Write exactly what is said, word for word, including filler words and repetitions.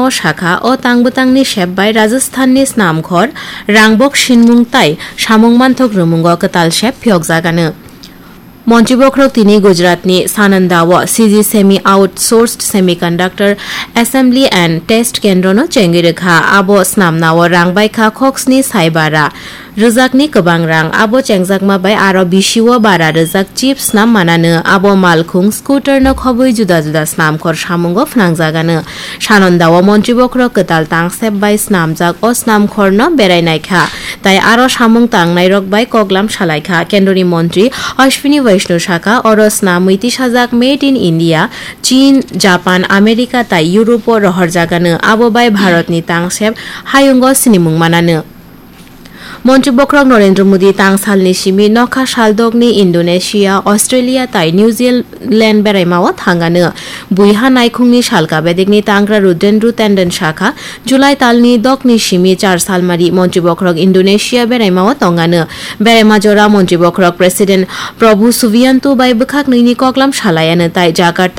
O sakha, o tang bwtangni sep bai Rajasthanni snamkhor, rangbok sinmung tai samung manthok rwmungo kwtal sep phiyokjagano. Montri bokhorok tini Gujaratni Sananda-o C G Semi Outsourced Semiconductor Assembly and Test Kendrono chengwi rwkha. Abo snamnao rang baikha khoksni sai bara rwjakni kwbang rang. Abo chengjakma bai aro bisio bara rwjak chip snam manano. Abo malkhung scooter no khobwi juda juda snamkhor samungo phnangjagano. Sananda-o montri bokhorok kwtal tangsep bai snamjak o snamkhorno berai naikha, tai aro samung tangnairok bai koklam salaikha. Kendroni montri Ashwini Vaishnaw sakha, oro snamwi tisajak Made in India, Chin, Japan, America tai Europe-o rohorjagano, abo bai Bharatni tangsep hayungo sinimung manano. Montri bokhorok Narendra Modi tang salni simi nokha saldokni Indonesia, Australia tai New Zealand beraimao thangano. Buiha naikhungni salka bedekni tangra Rudendru Tenden sakha, July talni dokni simi char salmari montri bokhorok Indonesia beraimao tongano. Beraima jora montri bokhorok President Prabowo Subianto bai bwkhak nini koklam salaiano tai Jakarta